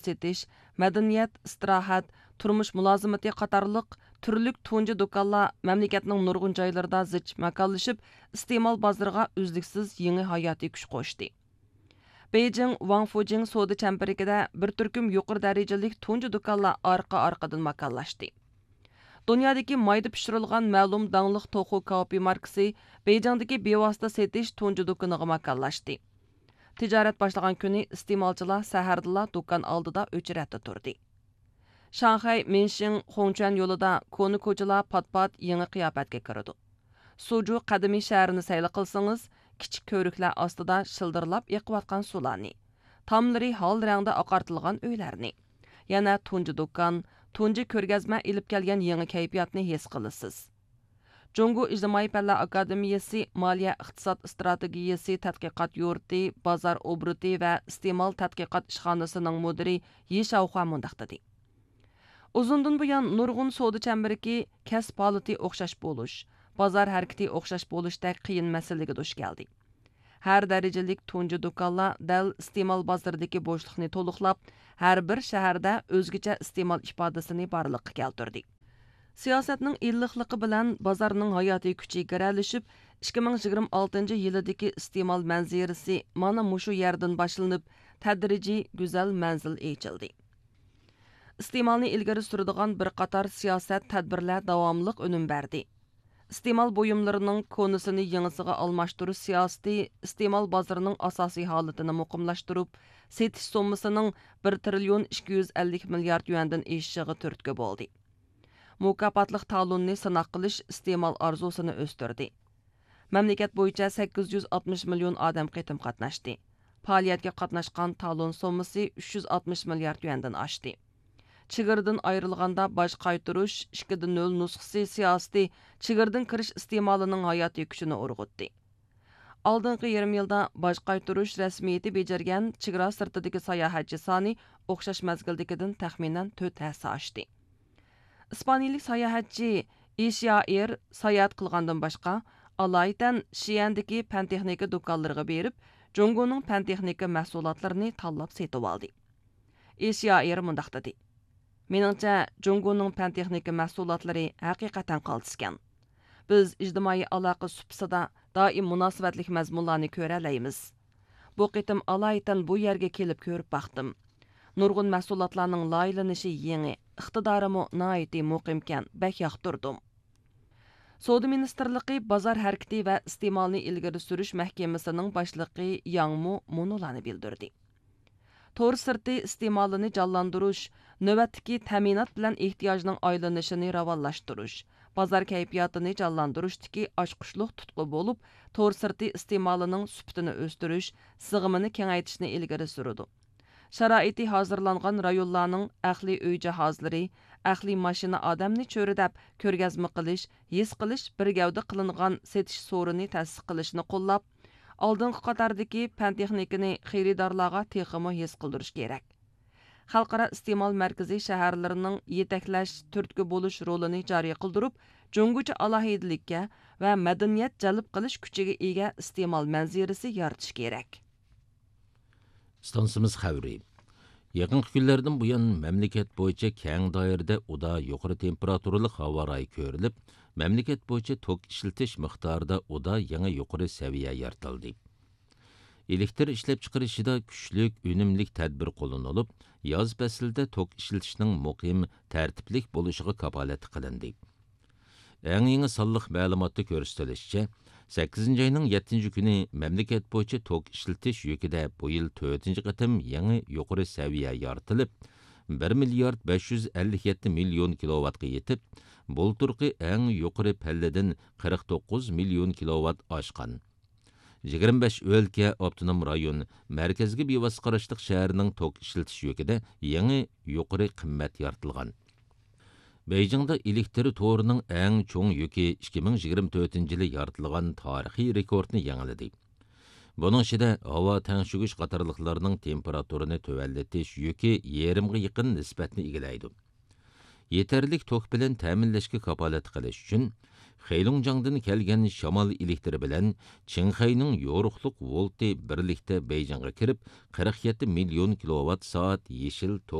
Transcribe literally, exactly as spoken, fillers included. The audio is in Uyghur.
سېتىش، مەدەنىيەت، ئىستىراھەت، تۇرمۇش مۇلازىمىتى قاتارلىق تۈرلۈك تۇنجى دۇكانلار مەملىكەتنىڭ نۇرغۇن جايلىرىدا زىچ ماكانلىشىپ، ئىستېمال بازىرىغا ئۈزلۈكسىز يېڭى ھاياتىي كۈچ قوشتى. بېيجىڭ ۋاڭفۇجىڭ سودا چەمبىرىكىدە بىر تۈركۈم يۇقىرى دەرىجىلىك تۇنجى دۇكانلار ئارقا-ئارقىدىن ماكانلاشتى. دۇنيادىكى مايدا پىشۇرۇلغان مەلۇم داڭلىق توخۇ كاۋىپى ماركىسى بېيجىڭدىكى بىۋاسىتە سېتىش تۇنجى دۇكىنىغا ماكانلاشتى. تىجارەت باشلىغان كۈنى ئىستېمالچىلار سەھەردىلا دۇكان ئالدىدا ئۆچرەتتە تۇردى. شاڭخەي مىنشىڭ خۇڭچۈەن يولىدا كونا كوچىلار پات-پات يېڭى قىياپەتكە كىرىدۇ. سۇجۇ قەدىمىي شەھىرىنى سەيلە قىلسىڭىز، كىچىك كۆۋرۈكلەر ئاستىدا شىلدىرلاپ ئېقىۋاتقان سۇلارنى، تاملىرى ھال رەڭدە ئاقارتىلغان ئۆيلەرنى، يەنە تۇنجى دۇكان، تۇنجى كۆرگەزمە ئېلىپ كەلگەن يېڭى كەيپىياتنى ھېس قىلىسىز. جۇڭگو ئىجتىمائىي پەنلەر ئاكادېمىيەسى مالىيە ئىقتىساد ئىستراتېگىيەسى تەتقىقات يۇرتى بازار ئوبوروتى ۋە ئىستېمال تەتقىقات ئىشخانىسىنىڭ مۇدىرى يى شاۋخۇا مۇنداق دېدى: ئۇزۇندىن بۇيان نۇرغۇن سودا چەمبىرىكى كەسىپ ھالىتى ئوخشاش بولۇش، بازار ھەرىكىتى ئوخشاش بولۇشتەك قىيىن مەسىلىگە دۇچ كەلدى. ھەر دەرىجىلىك تۇنجى دۇكانلار دەل ئىستېمال بازىرىدىكى بوشلۇقنى تولۇقلاپ، ھەر بىر شەھەردە ئۆزگىچە ئىستېمال ئىپادىسىنى بارلىققا كەلتۈردى. سىياسەتنىڭ ئىللىقلىقى بىلەن بازارنىڭ ھاياتىي كۈچى گىرەلىشىپ، ئىككى مىڭ يىگىرمە ئالتىنچى يىلىدىكى ئىستېمال مەنزىرىسى مانا مۇشۇ يەردىن باشلىنىپ، تەدرىجىي گۈزەل مەنزىل ئېچىلدى. ئىستېمالنى ئىلگىرى سۈرىدىغان بىر قاتار سىياسەت، تەدبىرلەر داۋاملىق ئۈنۈم بەردى. ئىستېمال بۇيۇملىرىنىڭ كونىسىنى يېڭىسىغا ئالماشتۇرۇش سىياسىتى ئىستېمال بازىرىنىڭ ئاساسىي ھالىتىنى مۇقىملاشتۇرۇپ، سېتىش سوممىسىنىڭ بىر تىرىليون ئىككى يۈز ئەللىك مىليارد يۈەندىن ئېشىشىغا تۈرتكە بولدى. مۇكاپاتلىق تالوننى سىناق قىلىش ئىستېمال ئارزۇسىنى ئۆستۈردى. مەملىكەت بويىچە سەككىز يۈز ئاتمىش مىليون ئادەم قېتىم قاتناشتى. پائالىيەتكە قاتناشقان تالون سوممىسى ئۈچ يۈز ئاتمىش مىليارد يۈەندىن ئاشتى. چېگرىدىن ئايرىلغاندا باج قايتۇرۇش ئىككى دە نۆل نۇسخىسى سىياسىتى چېگرىدىن كىرىش ئىستېمالىنىڭ ھاياتىي كۈچىنى ئۇرغۇتتى. ئالدىنقى يېرىم يىلدا باج قايتۇرۇش رەسمىيىتى بېجىرگەن چېگرا سىرتىدىكى ساياھەتچى سانى ئوخشاش مەزگىلدىكىدىن تەخمىنەن تۆت ھەسسە ئاشتى. ئىسپانىيىلىك ساياھەتچى ئىشيائىر ساياھەت قىلغاندىن باشقا، ئالايىتەن شىئەندىكى پەن تېخنىكا دۇكانلىرىغا بېرىپ، جۇڭگونىڭ پەن تېخنىكا مەھسۇلاتلىرىنى تاللاپ سېتىۋالدى. ئىشيائىر مۇنداق دېدى: مېنىڭچە، جۇڭگونىڭ پەن تېخنىكا مەھسۇلاتلىرى ھەقىقەتەن قالتىسكەن. بىز ئىجتىمائىي ئالاقە سۇپىسىدا دائىم مۇناسىۋەتلىك مەزمۇنلارنى كۆرەلەيمىز. بۇ قېتىم ئالايىتەن بۇ يەرگە كېلىپ كۆرۈپ باقتىم. نۇرغۇن مەھسۇلاتلارنىڭ لايىھىلىنىشى يېڭى، ئىقتىدارىمۇ ناھايىتى مۇقىمكەن، بەك ياقتۇردۇم. سودا مىنىستىرلىقى بازار ھەرىكىتى ۋە ئىستېمالنى ئىلگىرى سۈرۈش مەھكىمىسىنىڭ باشلىقى ياڭ مۇ مۇنۇلارنى بىلدۈردى: تور سىرتى ئىستېمالىنى جانلاندۇرۇش، نۆۋەتتىكى تەمىنات بىلەن ئېھتىياجنىڭ ئايلىنىشىنى راۋانلاشتۇرۇش، بازار كەيپىياتىنى جانلاندۇرۇشتىكى ئاچقۇچلۇق تۇتقا بولۇپ، تور سىرتى ئىستېمالىنىڭ سۈپىتىنى ئۆستۈرۈش، سىغىمىنى كېڭەيتىشنى ئىلگىرى سۈرىدۇ. شارائىتى ھازىرلانغان رايونلارنىڭ ئەقلىي ئۆي جاھازلىرى، ئەقلىي ماشىنا ئادەمنى چۆرىدەپ كۆرگەزمە قىلىش، ھېس قىلىش بىر گەۋدە قىلىنغان سېتىش سورۇنى تەسىس قىلىشنى قوللاپ، ئالدىنقى قاتاردىكى پەن تېخنىكىنى خېرىدارلارغا تېخىمۇ ھېس قىلدۇرۇش كېرەك. خەلقئارا ئىستېمال مەركىزى شەھەرلىرىنىڭ يېتەكلەش، تۈرتكە بولۇش رولىنى جارى قىلدۇرۇپ، جۇڭگوچە ئالاھىدىلىككە ۋە مەدەنىيەت جەلپ قىلىش كۈچىگە ئىگە ئىستېمال مەنزىرىسى يارىتىش كېرەك. ئىستانسىمىز خەۋىرى. يېقىنقى كۈنلەردىن بۇيان، مەملىكەت بويىچە كەڭ دائىرىدە ئۇدا يۇقىرى تېمپېراتۇرىلىق ھاۋا رايى كۆرۈلۈپ، مەملىكەت بويىچە توك ئىشلىتىش مىقدارىدا ئۇدا يېڭى يۇقىرى سەۋىيە يارىتىلدى. ئېلېكتر ئىشلەپچىقىرىشىدا كۈچلۈك، ئۈنۈملۈك تەدبىر قوللىنىلىپ، ياز پەسلىدە توك ئىشلىتىشنىڭ مۇقىم، تەرتىپلىك بولۇشىغا كاپالەتلىك قىلىندى. ئەڭ يېڭى سانلىق مەلۇماتتا كۆرسىتىلىشىچە، سەككىزىنچى ئاينىڭ يەتتىنچى كۈنى مەملىكەت بويىچە توك ئىشلىتىش يۈكىدە بۇ يىل تۆتىنچى قېتىم يېڭى يۇقىرى سەۋىيە يارىتىلىپ، بىر مىليارد بەش يۈز ئەللىك يەتتە مىليون كىلوۋاتقا يېتىپ، بۇلتۇرقى ئەڭ يۇقىرى پەللىدىن قىرىق توققۇز مىليون كىلوۋات ئاشقان. يىگىرمە بەش ئۆلكە، ئاپتونوم رايون، مەركەزگە بىۋاسىتە قاراشلىق شەھەرنىڭ توك ئىشلىتىش يۈكىدە يېڭى يۇقىرى قىممەت يارىتىلغان. بېيجىڭدا ئېلېكتر تورىنىڭ ئەڭ چوڭ يۈكى ئىككى مىڭ يىگىرمە تۆتىنچى يىلى يارىتىلغان تارىخىي رېكورتنى يېڭىلىدى. بۇنىڭ ئىچىدە ھاۋا تەڭشىگۈچ قاتارلىقلارنىڭ تېمپېراتۇرىنى تۆۋەنلىتىش يۈكى يېرىمغا يېقىن نىسبەتنى ئىگىلەيدۇ. يېتەرلىك توك بىلەن تەمىنلەشكە كاپالەتلىك قىلىش ئۈچۈن، خېيلۇڭجاڭدىن كەلگەن شامال ئېلېكتىرى بىلەن چىڭخەينىڭ يورۇقلۇق ۋولتى بىرلىكتە بېيجىڭغا كىرىپ، قىرىق يەتتە مىليون كىلوۋات سائەت يېشىل توك